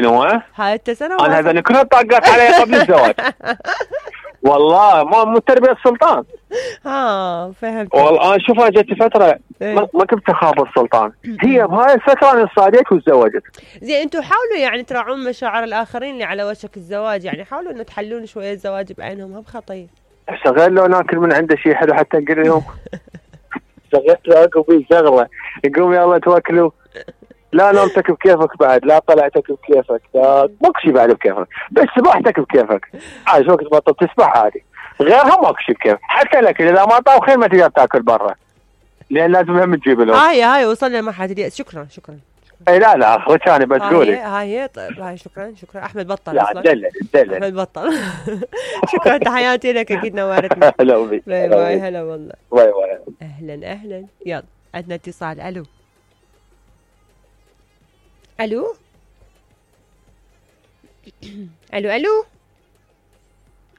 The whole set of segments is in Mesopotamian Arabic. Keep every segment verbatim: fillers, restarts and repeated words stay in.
سنين هو هاي التسنة انا هذا كلها طاقات علي قبل الزواج. والله ما مو تربية السلطان. ها فهمت. والله انا شوفها جت فتره ما, ما كنت اخاف السلطان. هي بهاي الفتره انا صاديت وتزوجت. زين انتم حاولوا يعني تراعون مشاعر الاخرين اللي على وشك الزواج، يعني حاولوا انه تحلون شويه الزواج بعينهم، هم خطير. غير لو ناكل من عنده شيء حلو حتى نقول لهم شغلت له بي شغله يقوم يلا توكلوا. لا نومتك بكيفك بعد، لا طلعتك بكيفك، لا ماكو شيء بعد بكيفك، بس سباحتك بكيفك. عايش وقت بطل تسبح عادي، غيرها ماكو شيء بكيف. حتى الاكل اذا ما طاوخين ما تقدر تاكل برا لان لازم هم تجيب لهم. هاي هاي وصلنا لمرحله اليأس. شكرا شكرا. اي لا لا اخوتاني بتقولي هاي هاي طيب هاي شكرا شكرا. احمد بطل لا اصلا. دلل دلل احمد بطل. شكرا تحياتي لك اكيد نورتنا. هلا بي. باي باي. هلا والله. باي باي. اهلا اهلا. يلا عندنا اتصال. الو الو الو الو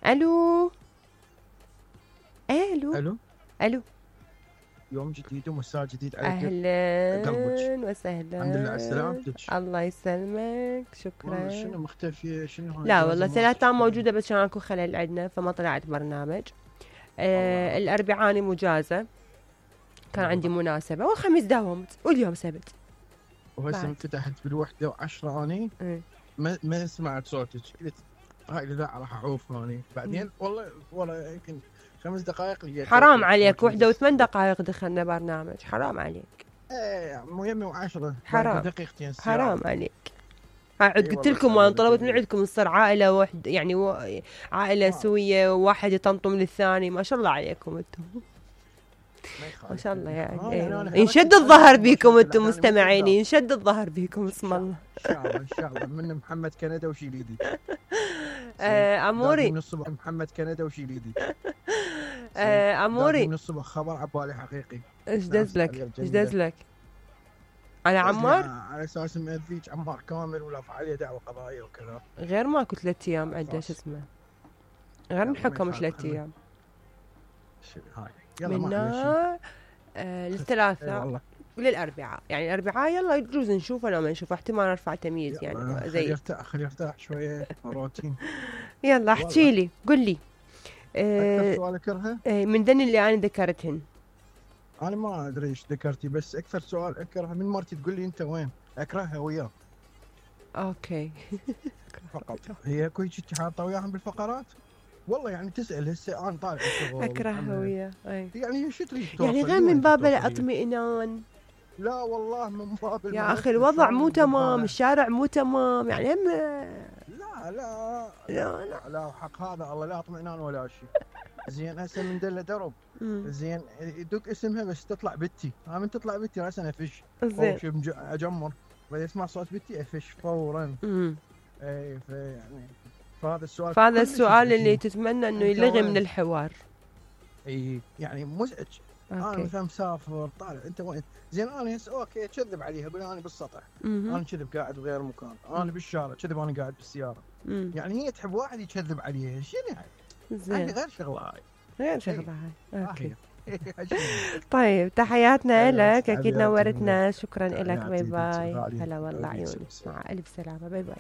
الو الو الو الو. يوم جديد ومساء جديد عليك. اهلا وسهلا. الحمد لله على سلامتك. الله يسلمك. شكرا. شنو مختفيه شنو؟ لا والله سلاتان موجوده بس عشان اكو خلل عندنا فما طلعت برنامج. آه الاربعاء مجازه كان عندي مناسبه والخميس داومت واليوم سبت. وهسه فتحت بالوحده وعشرة اني م. ما ما سمعت صوتك قلت هاي لا راح اعوف هوني بعدين والله والله يمكن خمس دقائق لقيت. حرام عليك وحده وثمان دقائق دخلنا برنامج. حرام عليك. ايه مو يمي وعشرة حرام دقيقتين. حرام عليك. هاعد قلت لكم وانا طلبت من عندكم نصير عائله واحده يعني و... عائله سويه وواحد يطمطم للثاني. ما شاء الله عليكم انتم ما شاء الله يعني. آه يعني ينشد الظهر بيكم انتم مستمعين، ينشد الظهر بيكم اسم الله. ان شاء الله ان شاء الله. من محمد كندا وشيليدي. آه اموري من الصبح محمد كندا وشيليدي. آه اموري من الصبح خبر عبالي حقيقي. ايش دزلك ايش دزلك على عمار؟ على اساس مأذيك عمار كامل ولا عليه دعوه قضائيه وكذا. غير ماكو ثلاث ايام عنده شو اسمه، غير من حكم ثلاث ايام هاي منا آه للثلاثاء وللاربعاء. يعني الاربعاء يلا يجوز نشوفه لو ما نشوفه احتمال ارفع تمييز يعني زي خلي يرتاح خلي يرتاح شويه روتين. يلا احكي لي قل لي. آه اكثر سؤال اكرهه من ذن اللي انا ذكرتهن. انا ما ادري ايش ذكرتي بس اكثر سؤال اكرهه من مرتي تقول لي انت وين اكرهها وياه. اوكي. فقط هي كل شيء حاطه وياهم بالفقرات. والله يعني تسال هسه انا طالع الشغل اكرهها وياه يعني شو تريد يعني غير من باب الاطمئنان. لا والله من باب يا اخي الوضع مو تمام، الشارع مو تمام يعني هم. لا لا لا لا لا حق هذا الله لا اطمئنان ولا شيء. زين هسه من دله درب زين يدق اسمها بس تطلع بنتي. ها من تطلع بنتي راسا افش زين اجمر بعدين اسمع صوت بنتي افش فورا. امم اي فيعني فهذا السؤال فهذا السؤال اللي تتمنى انه يلغي من الحوار. اي يعني مزعج. انا مثلا مسافر طالع انت وين زين انا هسه اوكي كذب عليها اقول انا بالسطح انا كذب قاعد بغير مكان انا بالشارع كذب انا قاعد بالسياره. مم. يعني هي تحب واحد يكذب عليها شنو يعني زين غير شغله هاي غير شغله هاي اوكي. طيب تحياتنا لك اكيد نورتنا. شكرا لك. باي باي. هلا والله عيوني مع الف سلامه. باي باي.